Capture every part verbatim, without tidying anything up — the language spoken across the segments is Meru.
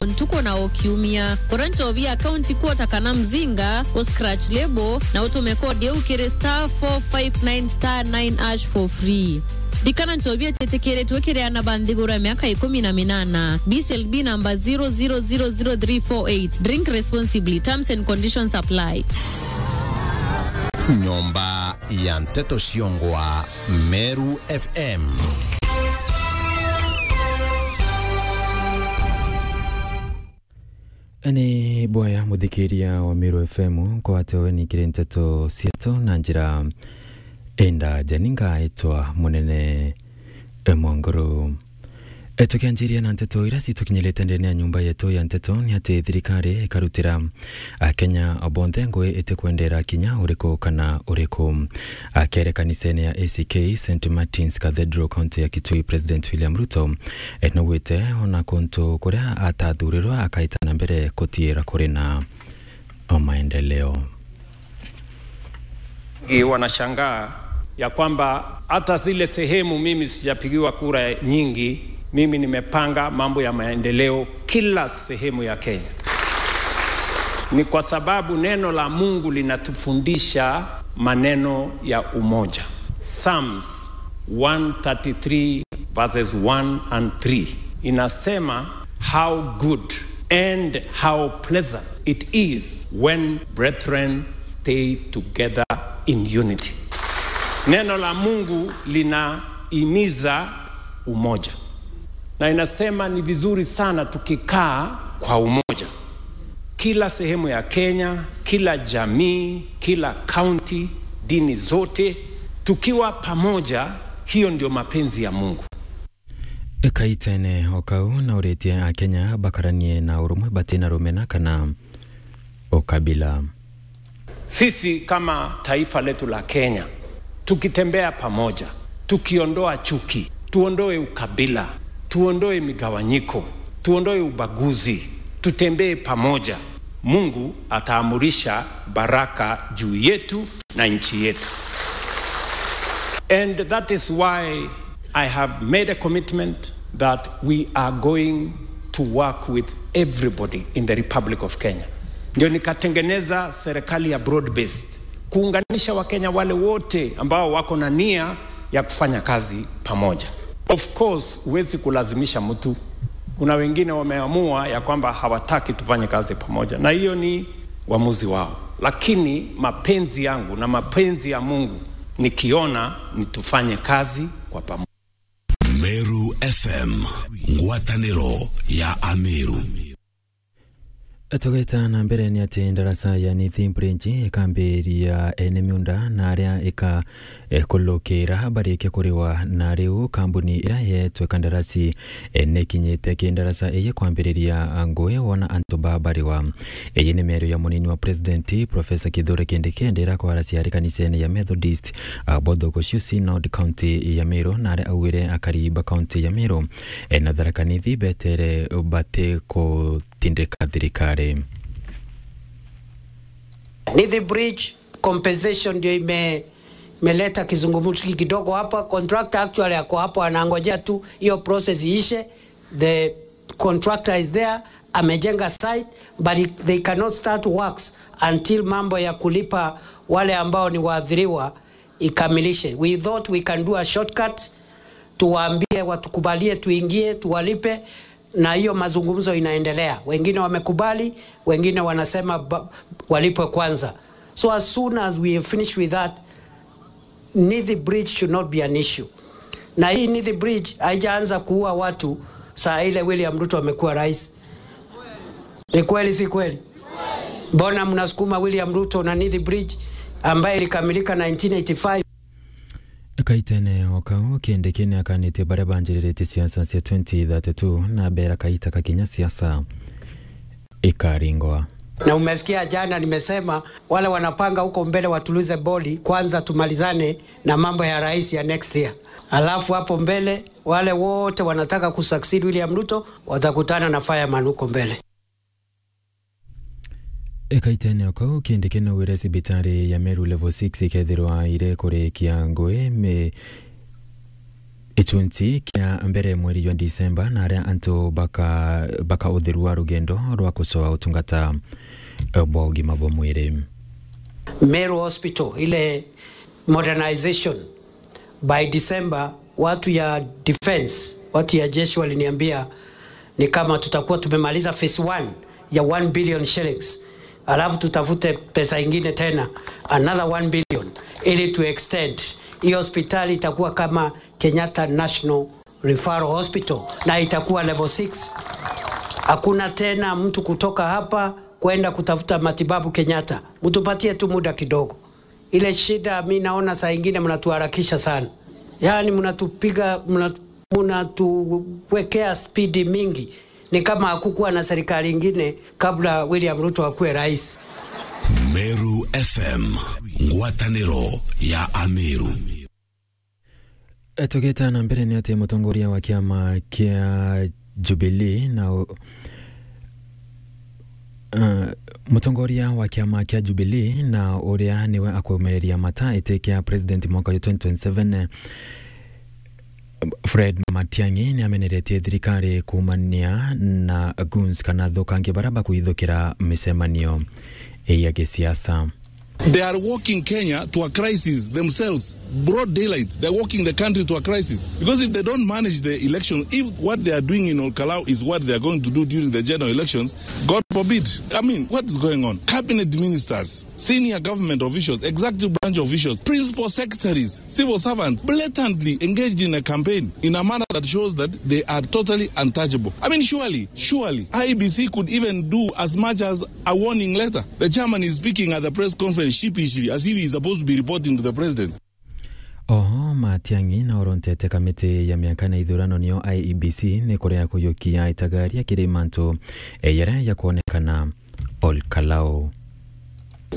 ntuku na o kiumia. Gura nchobi ya County Quarter kana Mzinga, u scratch label, na utume kodi iu kiri star four five nine star nine hash for free. Ririkana nchobi ititikiritwe kiri aana ba nthiguru ya miaka ikumi na minana. B C L B number zero zero zero zero three four eight. Drink responsibly. Terms and conditions apply. Nyomba ya Nteto Ciongwa, Meru F M. Ni bwaya muthikiria wa Meru F M, nkwate weni kiri nteto cietu na njira indaja. Ni ngaitwa Munene Mwanguru. E, tukianjiria na nteto iria citukinyirite ndene ya nyumba yetu ya nteto, ni ati thirikari ikarutira Akenya bonthe ngui itikwendera kinya uriku kana uriku. Akere kanisene ya A C K Saint Martin's Cathedral, county ya Kitui, President William Ruto, e, naugite ona kuntu kuria atathurirwe akaita na mbere kutiira kuri na maendeleo. Wengi wanashangaa ya kwamba hata zile sehemu mimi sijapigiwa kura nyingi, mimi nimepanga mambo ya maendeleo kila sehemu ya Kenya. Ni kwa sababu neno la Mungu linatufundisha maneno ya umoja. Psalms one thirty-three verses one and three inasema, "How good and how pleasant it is when brethren stay together in unity." Neno la Mungu linahimiza umoja. Na inasema ni vizuri sana tukikaa kwa umoja. Kila sehemu ya Kenya, kila jamii, kila county, dini zote, tukiwa pamoja, hiyo ndio mapenzi ya Mungu. Kaitene o kau nauritie Akenya bakaranie na urumwe batina rumena kana ukabila. Sisi kama taifa letu la Kenya, tukitembea pamoja, tukiondoa chuki, tuondoe ukabila, tuondoe migawanyiko, tuondoe ubaguzi, tutembee pamoja, Mungu ataamurisha baraka juu yetu na nchi yetu. And that is why I have made a commitment that we are going to work with everybody in the Republic of Kenya. Ndio nikatengeneza serikali ya broad based, kuunganisha Wakenya wale wote ambao wako na nia ya kufanya kazi pamoja. Of course, huwezi kulazimisha mtu. Kuna wengine wameamua ya kwamba hawataki tufanye kazi pamoja, na hiyo ni uamuzi wao, lakini mapenzi yangu na mapenzi ya Mungu nikiona ni tufanye kazi kwa pamoja. Meru F M, ngwataniro ya Ameru. Tugeta na mbere ni ati ndaraca ya Nithi Bridge ikambiria ene miunda na aria ika, eh, kulukira barikia kuriwa, na riu kambuni iria yetwe kandarasi, eh, nikinyite ki ndaraca iyi kwambiriria ngui wona antu ba bariwa. Iyi ni miario ya munini wa president, Professor Kithure Kindiki, ndira kwaracia ari kanisene ya Methodist, ah, Bothogocio Synod, county ya Meru, na aria augire akari ba county ya Meru, eh, na Tharaka Nithi betere bati kutindika thirikari. Nithi Bridge compensation ndio ime-, imeleta kizungumkuti kidogo hapa. Contractor actually ako hapo anangojea tu hiyo process iishe. The contractor is there, amejenga site, but it, they cannot start works until mambo ya kulipa wale ambao ni waathiriwa ikamilishe. We thought we can do a shortcut, tuwaambie watukubalie tuingie, tuwalipe, na hiyo mazungumzo inaendelea. Wengine wamekubali, wengine wanasema ba-, walipwe kwanza. So as soon as we finish with that, Nithi Bridge should not be an issue. Na hii Nithi Bridge haijaanza kuua watu saa ile William Ruto amekuwa rais. Ni kweli, si kweli? Mbona mnasukuma William Ruto na Nithi Bridge ambaye ilikamilika nineteen eighty-five? Kaitene o kau, Kindiki ni akanitie baria banjiriritie siasa cia twenty thirty-two na bera kaita kakinya siasa ikaringwa. Na umesikia jana nimesema wale wanapanga huko mbele watulize boli, kwanza tumalizane na mambo ya rais ya next year. Alafu hapo mbele wale wote wanataka kusucceed William Ruto watakutana na fireman huko mbele. Ekaitene o kau, Kindiki naugire cibitari ya Meru Level six ikethirwa iri kurikia ngui mi-, Gicunci kia mbere mweri jwa Disemba, na aria antu baka, baka utheru wa rugendo rwa kucoa utungata, eh, bwa ugima bwa mwiri. Meru Hospital, ile modernization, by December, watu ya defense, watu ya jeshi waliniambia ni kama tutakuwa tumemaliza phase one ya one billion shillings, alafu tutafute pesa ingine tena, another one billion, ili tu extend. Hiyo hospitali itakuwa kama Kenyatta National Referral Hospital, na itakuwa level six. Hakuna tena mtu kutoka hapa kwenda kutafuta matibabu Kenyatta. Mtupatie tu muda kidogo. Ile shida mi naona saa ingine mnatuharakisha sana. Yaani mnatupiga, mna-, mnatuwekea spidi mingi. Ni kama hakukuwa na serikali ingine kabla William Ruto akuwe rais. Meru F M, ngwataniro ya Ameru. E, tugita na mbere ni ati mutongoria wa kiama kia Jubilee na u-, eh, mutongoria wa kiama kia Jubilee na uria niwe akumereria mata iti kia president mwaka wa twenty twenty-seven, eh, Fred Matiang'i ni ameneretie thirikari kuumania na goons kana athukangia baria bakuithukira micemanio ya gisiasa. They are walking Kenya to a crisis themselves. Broad daylight, they're walking the country to a crisis. Because if they don't manage the election, if what they are doing in Olkalau is what they are going to do during the general elections, God forbid. I mean, what is going on? Cabinet ministers, senior government officials, executive branch officials, principal secretaries, civil servants, blatantly engaged in a campaign in a manner that shows that they are totally untouchable. I mean, surely, surely, I E B C could even do as much as a warning letter. The chairman is speaking at the press conference sheepishly, as if he's supposed to be reporting to the president. Oho, Matiang'i na orontete kamiti ya miaka na ithurano, niyo I E B C, ni kuria kuyukia itagaria kiri mantu, eh, yaria yakwonekana Olkalau.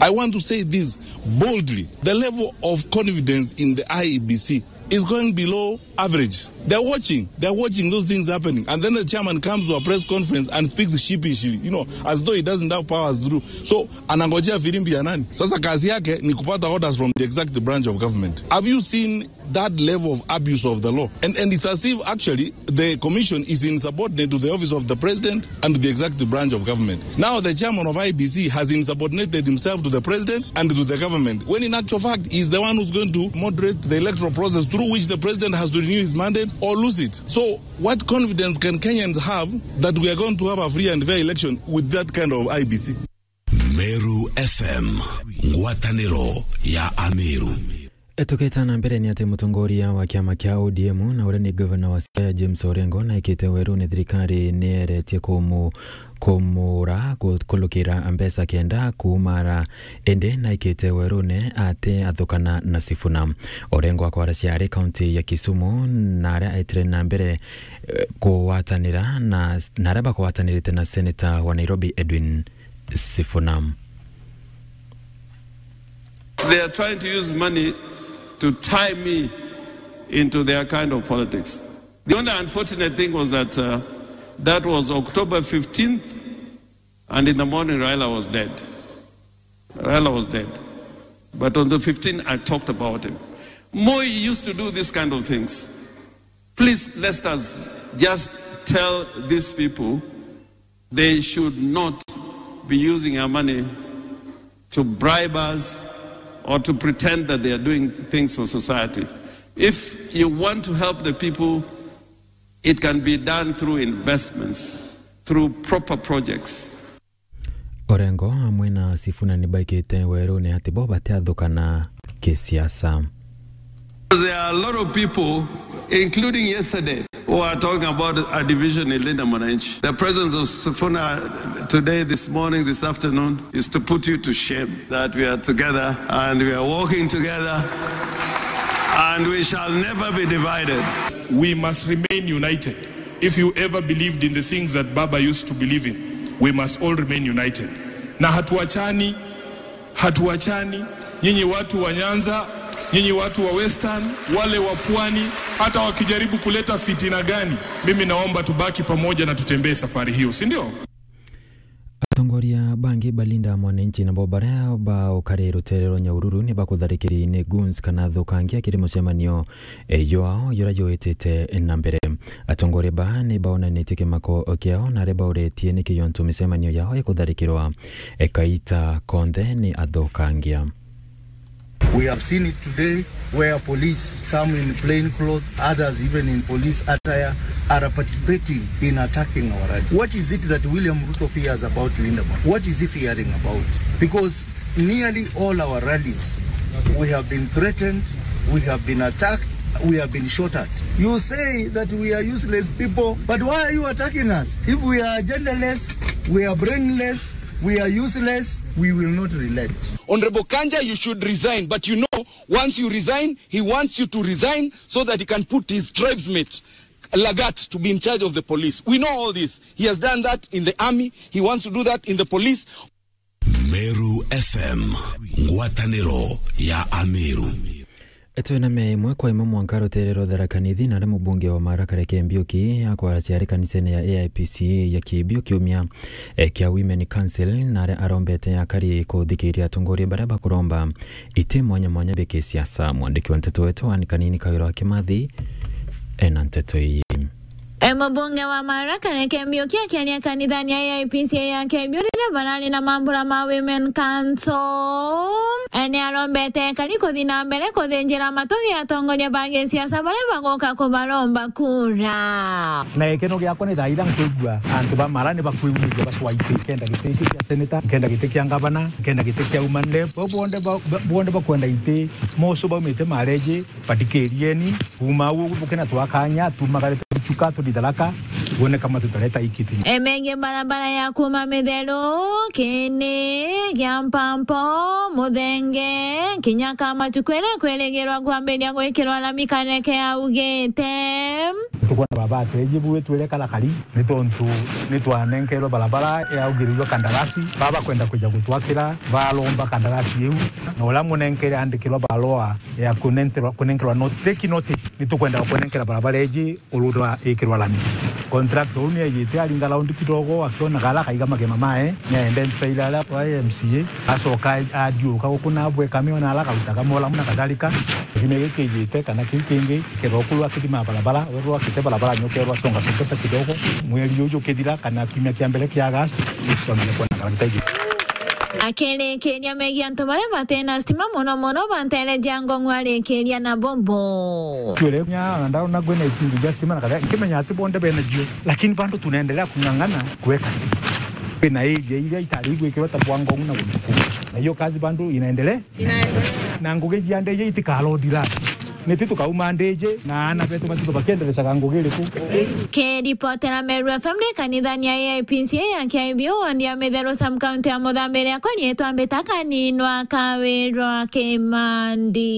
I want to say this boldly. The level of confidence in the I E B C is going below average. They're watching. They're watching those things happening. And then the chairman comes to a press conference and speaks sheepishly, you know, as though he doesn't have powers to do. So, anangojea firimbi ya nani? Sasa kazi yake ni kupata orders from the executive branch of government. Have you seen that level of abuse of the law? And, and it's as if actually the commission is insubordinate to the office of the president and to the executive branch of government. Now the chairman of I E B C has insubordinated himself to the president and to the government, when in actual fact he is the one who's going to moderate the electoral process through which the president has to renew his mandate or lose it. So what confidence can Kenyans have that we are going to have a free and fair election with that kind of I E B C? Meru F M, ngwataniro ya Ameru. Tukita na mbere ni ati mutongoria wa kiama kia O D M na uria ni governor wa Siaya James Orengo naikite werune thirikari nieretie kumu-, kumura ku-, kulukira mbeca kenda kumara, indi naikite werune ati athukana na Sifuna. Orengo akwaracia ari kaunti ya Kisumu na aria aitire na mbere, eh, kugwatanira na, na aria bagwatanirite na senator wa Nairobi Edwin Sifuna. They are trying to use money to tie me into their kind of politics. The only unfortunate thing was that, uh, that was October fifteenth, and in the morning Raila was dead. Raila was dead. But on the fifteenth, I talked about him. Moi used to do this kind of things. Please, let us just tell these people they should not be using our money to bribe us or to pretend that they are doing things for society. If you want to help the people, it can be done through investments, through proper projects. Orengo amwe na Sifuna ni baikite werune ati bo batiathukana kisiasa. There are a lot of people, including yesterday, who are talking about a division in Linda Mwananchi. The presence of Sifuna today, this morning, this afternoon, is to put you to shame that we are together and we are walking together and we shall never be divided. We must remain united. If you ever believed in the things that Baba used to believe in, we must all remain united. Na hatuachani, hatuachani. Nyinyi watu wa Nyanza, nyinyi watu wa Western, wale wa Pwani, hata wakijaribu kuleta fitina gani, mimi naomba tubaki pamoja na tutembee safari hiyo, si ndio? Atongoria bangi Balinda mwananchi nabo baria baukari rutere rwa Nyahururu ni bakutharikiri ni goons kana athukangia kiri mucemanio, e, jwao juria jwitite na mbere. Atongoria ba ni baonanitie kimako kiao na aria bauretie niki jontu micemanio yao ikutharikirwa, e, kaita konthe ni athukangia. We have seen it today where police, some in plain clothes, others even in police attire, are participating in attacking our rally. What is it that William Ruto fears about Linda Mwananchi? What is he fearing about? Because nearly all our rallies, we have been threatened, we have been attacked, we have been shot at. You say that we are useless people, but why are you attacking us? If we are agendaless, we are brainless, we are useless, we will not relent. Honorable Kanja, you should resign, but you know, once you resign, he wants you to resign so that he can put his tribesmate, Lagat, to be in charge of the police. We know all this. He has done that in the army. He wants to do that in the police. Meru F M, ngwataniro ya Ameru. Twina me imwe kwa imwe mwanka rutere rwa Tharaka Nithi, na aria mubunge wa Marakara Ken Mbiuki akwara ciari kanisene ya A I P C A ya Kibiu kiumia, e, kia Women Council, na aria arombete akari kuthikiria atongoria baria bakuromba iti mwanya mwanya bia kisiasa. Mwandiki wa nteto wetu Anne Kanini Kawira wa Kimathi ena nteto ii. E, mubunge wa Marakara Ken Mbiuki akiaria kanithani ya A I P C A ya Kibiu riria barari na mambura ma Women Council, e, ni arombete akari kuthi na mbere kuthinjira matugi atongoria ba gisiasa baria baguka kubaromba kura. Na gikeno giakwa ni thaa iria nkwigua antu ba Mara ni bakwigua bacwa iti, nkenda giti kia seneta, nkenda giti kia ngavana, nkenda giti kia woman rep. Bo bonthe ba-, ba-, bonthe bakwenda iti, moso baumite Mareji, bathikirieni, kuuma au bukena twakanya, tumagarite bichuka, tuthi Tharaka, wone kama tutareta ikiti. E, megie barabara ya kuuma Mitheru, Kini, Giampampo, Muthenge, kinya Kamatu kwiria kwirigirwa kwambiria gwikirwa rami Kareke augite. Tukwona baba ateji bu twire karakari, ni tontu ni twanenkerwe barabara yaugirirwe kandarasi, baba kwenda kwija gutwakira, baromba kandarasi iu, na uria munenkere andikirwa barua ya kunenterwa, kunenkerwa not-, fake notice, ni tukwenda kunenkera barabara iji urura ikirwa rami. Contractor uu ni ejite aringa round kidogo, akiona gala akaiga magema mae, ni aende nteire aria kwa M C A, acoka athiuruka guku na abwe kamiona ala akautaga molamu na kadhalika. Kithime giki kijite kana kiu kingi, kethira ukuru akithima barabara, werwa akite barabara nyokerwa songa songesa kidogo, mweri uju ukithira kana kiumia kia mbere kia August, ni tukamenya kuona kana gitaiji. Akirikiria megie antu baria batena stima, mono mono ba ntere cia Ngong'u, arikiria na bobo. Twire nya, na ndaona kwina itingi cia stima na kadhalika, nkimenya ati bonthe bena cio, lakini bado tunaendelea kung'ang'ana kuweka stima. Kwina area iria itari igwikirwa ta bwa Ngong'u na guntu kungi. Na hiyo kazi bado inaendelea. Na ngugi cia ndeje itikarodi radi. Niti tukauma ndeje na aana betu batitho bakienderecaga ngugi iriku. Kiripotera Meru F M ni kanithani ya A I P C A ya Kiaibiu, ward ya Mitheru, sub county ya Muthambi, riakwa riitwa Mbita Kaninwa Kawirwa Kimandi.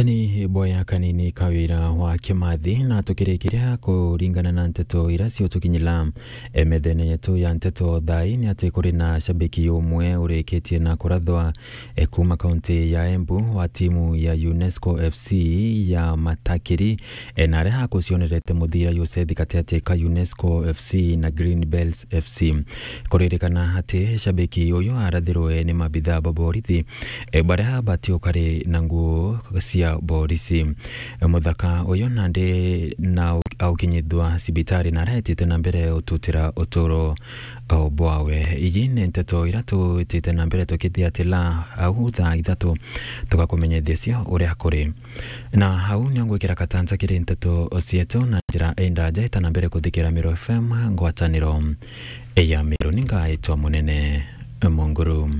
Ni boya Kanini Kawira wa Kimathi, na tukirikiria kuringana na nteto iria ciutukinyira, e, methene yetu ya nteto thaa ii, ni ati kuri na shabiki umwe urikitie na kurathwa, e, kuuma kaunti ya Embu wa timu ya UNESCO F C ya Matakiri, e, na aria akucionerete muthira Yuseth gatiati ka UNESCO F C na Green Bells F C. Kuririkana ati shabiki uyu arathirwe ni mabithaa ba borithi, e, baria batiukari na nguo cia borisi. E, muthaka uyu nandi na au-, aukinyithua cibitari na aretite na mbere ututira uturo o bwawe. Iji ni nteto iria twitite na mbere tukithiatila au thaa ithatu tugakumenyithia cio uria kuri. Na au nio ngwikira katanja kiri nteto cietu na njira indaja ita na mbere kuthikira Meru F M ngwataniro ya Meru. Ni ngaitwa Munene Munguru.